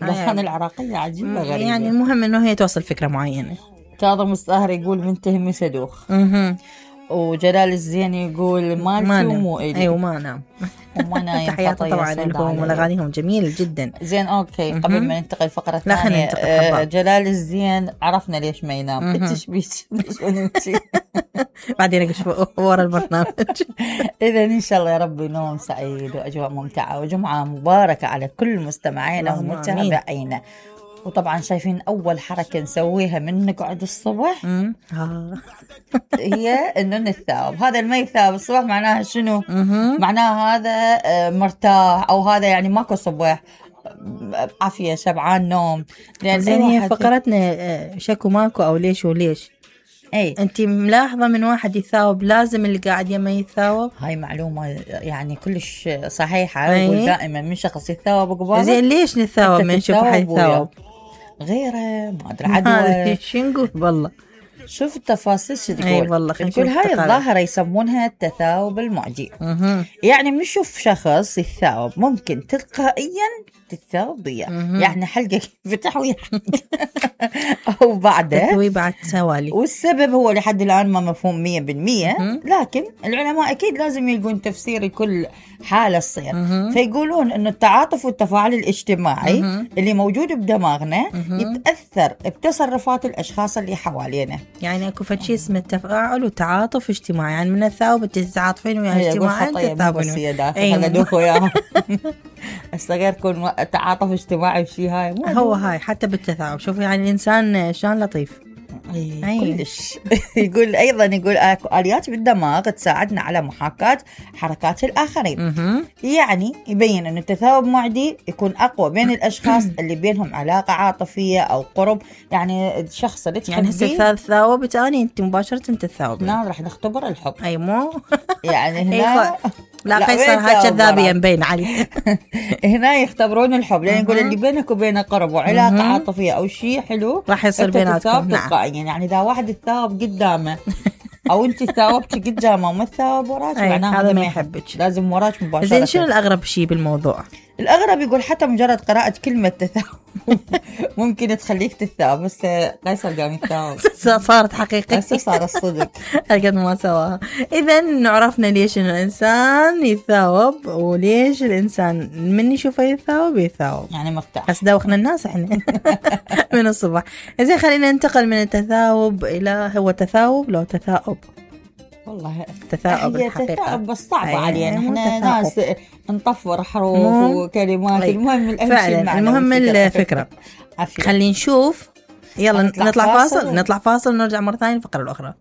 الأغاني العراقية عجيبة غريبة. يعني المهم إنه هي توصل فكرة معينة. كاظم الساهر يقول منتهي سدوخ. وجلال الزين يقول مالتي ومو إلي. أيوة ما نام وما نايم. تحياتي طبعا لهم وأغانيهم جميلة جدا. زين أوكي. قبل ما ننتقل الفقرة الثانية، جلال الزين عرفنا ليش ما ينام. إنتش بيش بعدين أقش ورا البرنامج. إذا إن شاء الله يا رب نوم سعيد وأجواء ممتعة وجمعة مباركة على كل مستمعينا ومتابعينا. وطبعا شايفين أول حركة نسويها من نقعد الصبح هي إنه نتثاوب. هذا المي ثاوب الصبح معناها شنو؟ معناها هذا مرتاح، أو هذا يعني ماكو صبح، عافية، شبعان، نوم. لأن هي فقرتنا شكو ماكو أو ليش وليش. أي أنت ملاحظة من واحد يثاوب لازم اللي قاعد يما يثاوب. هاي معلومة يعني كلش صحيحة. أقول دائما من شخص يثاوب قبال. زين ليش نثاوب من نشوف حد يثاوب غيره؟ ما أدري عدوى. شو نقول والله. شوف التفاصيل شو تقول. أي والله. تقول هاي الظاهرة يسمونها التثاوب المعدي. يعني بنشوف شخص يثاوب ممكن تلقائيا تثاوب ضياء، يعني حلقة فتح ويحك أو بعده تثوي بعد سوالي. والسبب هو لحد الآن ما مفهوم 100%. لكن العلماء أكيد لازم يلقون تفسير لكل حالة تصير. فيقولون إنه التعاطف والتفاعل الاجتماعي اللي موجود بدماغنا يتأثر بتصرفات الأشخاص اللي حوالينا. يعني اكو فشي اسمه التفاعل وتعاطف اجتماعي. يعني من الثاوب تتعاطفين ويا اجتماعيا تتثاوبين. خلدوكوا ياهم. استغير كون تعاطف اجتماعي وشي هاي هو هاي حتى بالتثاؤب. شوف يعني الانسان شلون لطيف. كلش. يقول ايضا اكو اليات بالدماغ تساعدنا على محاكاة حركات الاخرين. يعني يبين ان التثاؤب معدي يكون اقوى بين الاشخاص اللي بينهم علاقة عاطفية او قرب. يعني الشخص اللي يعني هسه ثاوبت اني انت مباشرة تثاوب. نعم راح نختبر الحب. اي مو يعني هنا لا قيصر هاي كذابية مبين علي. هنا يختبرون الحب، لأن يقول اللي بينك وبينه قرب وعلاقة عاطفية أو شيء حلو راح يصير بيناتكم. يعني إذا واحد تثاوب قدامه أو أنت ثاوبت قدامه وما تثاوب وراك معناه هذا ما يحبك، لازم وراك مباشرة. زين شنو الأغرب شيء بالموضوع؟ الأغرب يقول حتى مجرد قراءة كلمة تثاؤب ممكن تخليك تثاؤب. بس قيصر قام يثاؤب صارت حقيقة. بس صار الصدق قد ما سواها. إذن عرفنا ليش إنه الإنسان يثاوب وليش الإنسان من يشوفه يثاوب يعني مرتاح. بس دوخنا الناس إحنا من الصبح. إذن خلينا ننتقل من التثاوب إلى هو تثاوب لو تثاؤب. والله تثاؤب الحقيقة تثاؤب بس صعبة علينا. احنا ناس نطفر حروف وكلمات. المهم فعلا المهم الفكرة. خلينا نشوف. يلا نطلع فاصل ونرجع مرة ثانية الفقرة الأخرى.